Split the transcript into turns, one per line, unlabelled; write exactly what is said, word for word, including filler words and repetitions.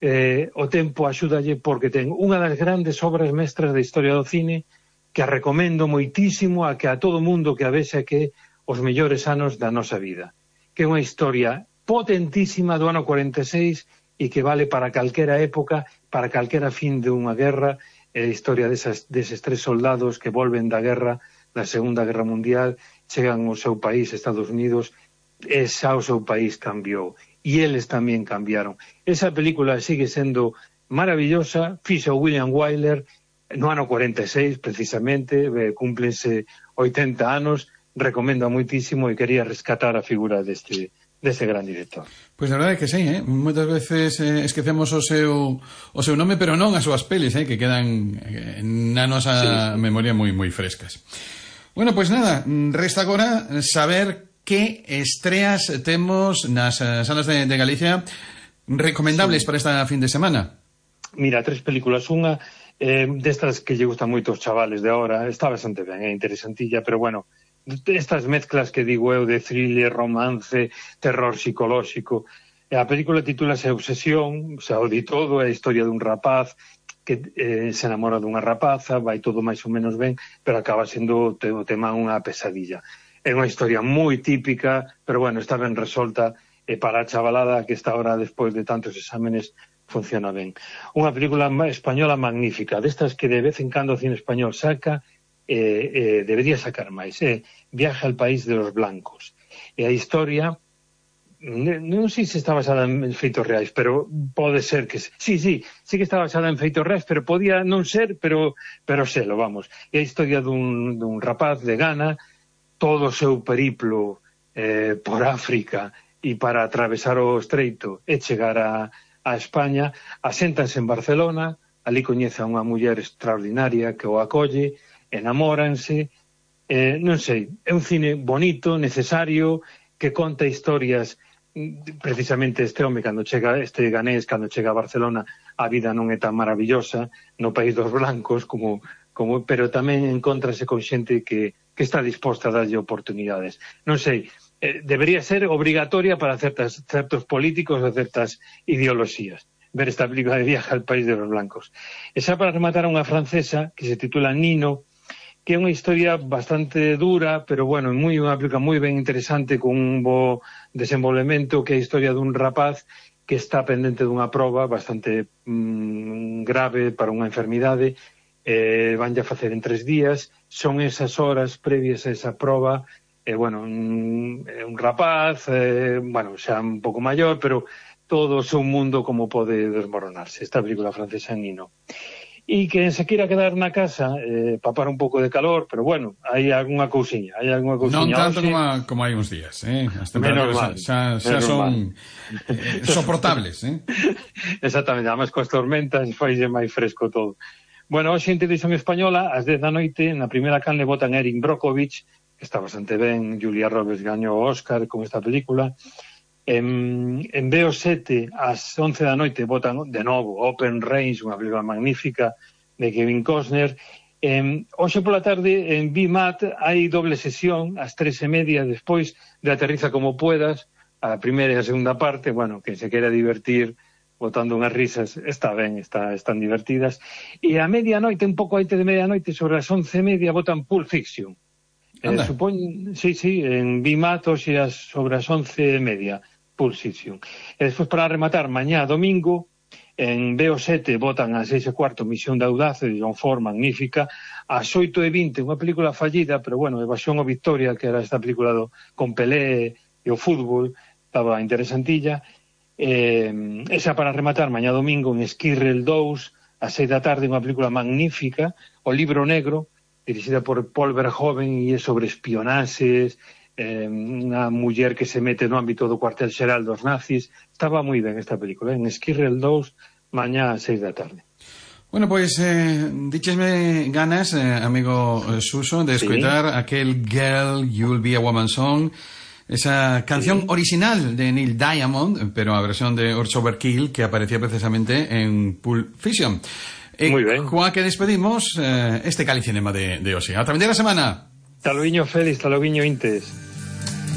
eh, o tempo axúdalle porque ten unha das grandes obras mestras da historia do cine que a recomendo moitísimo a que a todo mundo que a vexa que os mellores anos da nosa vida, que é unha historia potentísima do ano cuarenta e seis e que vale para calquera época, para calquera fin de unha guerra, é a historia desas, deses tres soldados que volven da guerra, da Segunda Guerra Mundial, chegan ao seu país, Estados Unidos, e xa o seu país cambiou. E eles tamén cambiaron. Esa película sigue sendo maravillosa, fixo William Wyler no ano cuarenta e seis, precisamente, eh, cúmplense oitenta anos, recomendo moitísimo e quería rescatar a figura deste, deste gran director.
Pois a verdade é que sí, eh? Moitas veces eh, esquecemos o seu o seu nome, pero non as súas pelis, eh? Que quedan eh, na nosa sí, sí. memoria moi moi frescas. Bueno, pois nada, resta agora saber que estreas temos nas salas de, de Galicia recomendables sí. para esta fin de semana.
Mira, tres películas. Unha eh, destas que lle gustan moito os chavales de ahora, está bastante ben, é interesantilla, pero bueno, estas mezclas que digo eu de thriller, romance, terror psicolóxico. A película titúlase Obsesión, xa o di todo, é a historia dun rapaz que eh, se enamora dunha rapaza, vai todo máis ou menos ben, pero acaba sendo o tema unha pesadilla. É unha historia moi típica, pero bueno, está ben resolta e para a chavalada que está ahora despois de tantos exámenes funciona ben. Unha película española magnífica, destas que de vez en cando o cine español saca, eh, eh, debería sacar máis, eh? Viaje al país de los blancos. E a historia, non sei se está basada en feitos reais, pero pode ser que... Sí, sí, sí que está basada en feitos reais, pero podía non ser, pero, pero selo, vamos. É a historia dun, dun rapaz de Ghana, todo o seu periplo eh, por África e para atravesar o estreito e chegar a, a España, aséntanse en Barcelona, ali coñece a unha muller extraordinaria que o acolle, enamóranse, eh, non sei, é un cine bonito, necesario, que conta historias, precisamente este home, cando chega, este ganés, cando chega a Barcelona, a vida non é tan maravillosa no país dos blancos, como, como pero tamén encontrase con xente que que está disposta a darlle oportunidades. Non sei, eh, debería ser obrigatoria para certas, certos políticos ou certas ideoloxías ver esta película de Viaje al país de los blancos. E xa para rematar unha francesa que se titula Nino, que é unha historia bastante dura, pero bueno, é moi, unha película moi ben interesante con un bo desenvolvemento, que é a historia dun rapaz que está pendente dunha proba bastante mmm, grave para unha enfermidade, eh, vanlle a facer en tres días, son esas horas previas a esa proba, eh, bueno, un, un rapaz, eh, bueno, xa un pouco maior, pero todo o seu mundo como pode desmoronarse, esta película francesa Nino. E que se queira quedar na casa, eh, papar un pouco de calor, pero bueno, hai algunha cousiña, hai algunha cousiña.
Non tanto como, a, como hai uns días, eh? As temperaturas xa, xa son eh, soportables, eh?
Exactamente, además coas tormentas faise máis fresco todo. Bueno, hoxe en Televisión Española, ás dez da noite, na primeira canle botan Erin Brockovich, que está bastante ben, Julia Roberts gañou o Óscar con esta película. En, en B O sete, ás once da noite, botan de novo Open Range, unha película magnífica de Kevin Costner. En, hoxe pola tarde, en B M A T, hai doble sesión, ás tres e media, despois de Aterriza como puedas, a primeira e a segunda parte, bueno, que se quera divertir botando unhas risas, está ben, está, están divertidas. E a medianoite, un pouco antes de medianoite, sobre as once e media, botan Pulp Fiction. Eh, supón, sí, sí, en B M A T, hoxe sobre as once e media, Pulp Fiction. E despois, para rematar, mañá domingo, en B O sete botan a seis e cuarto Misión de Audace, de John Ford, magnífica. Ás oito e vinte, unha película fallida, pero bueno, Evasión o Victoria, que era esta película do, con Pelé e o fútbol, estaba interesantilla. Eh, esa para rematar mañá domingo en Esquirrel dous, a seis da tarde, unha película magnífica, O Libro Negro, dirixida por Paul Verhoeven, e é sobre espionaxes, eh, unha muller que se mete no ámbito do cuartel xeral dos nazis. Estaba moi ben esta película, en Esquirrel dous, mañá a seis da tarde.
Bueno, pois, eh, díchesme ganas, eh, amigo Suso, de escoitar sí. aquel Girl, You'll Be a Woman Song, esa canción sí. original de Neil Diamond, pero a versión de Urge Overkill, que aparecía precisamente en Pulp Fiction. Eh,
Muy ben.
Coa que despedimos eh, este Calicinema de, de hoxe. Ata a vindeira semana.
Taloguiño Félix, taloguiño Intes.